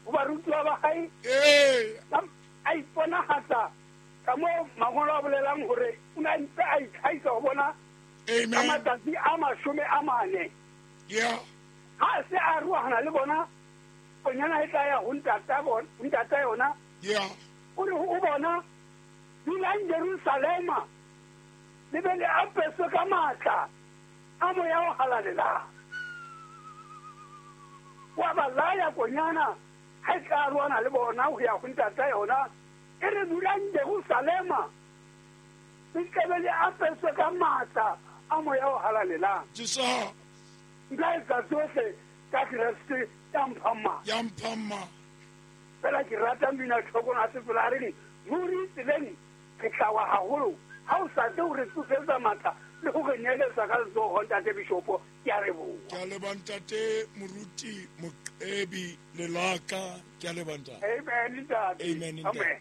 Ho barutuwa ba hae. A iponahatsa ka moo mangolo a bolelang hore o ne a ntse a itlhahisa ho bona ka matsatsi a 40. Ha a se a arohana le bona, konyana e tla ya ho ntata yona. O re ho bona, dulang Jerusalema, le be le apeswe ka matla a Moya o Halalelang. Wa ba laya konyana ha e tla arohana le bona ho ya ho ntata yona, e re dulang Jerusalema, le tle be le apeswe ka matla a Moya o Halalelang. Nka etsa tsohle ka Kreste ya mphang matla. Ya mphang matla. Fela ke rata mmino Thokong a sefela a reng, ruri tseleng re tla wa haholo ha o sa tle ho re tsosetsa matla le ho re neeletsa ka letsoho, Ntate Bishopo. Ke a leboha. Ke a leboha Ntate Moruti Moqebi Lelaka. Ke a leboha Ntate. Amen Ntate. Amen Ntate. Amen.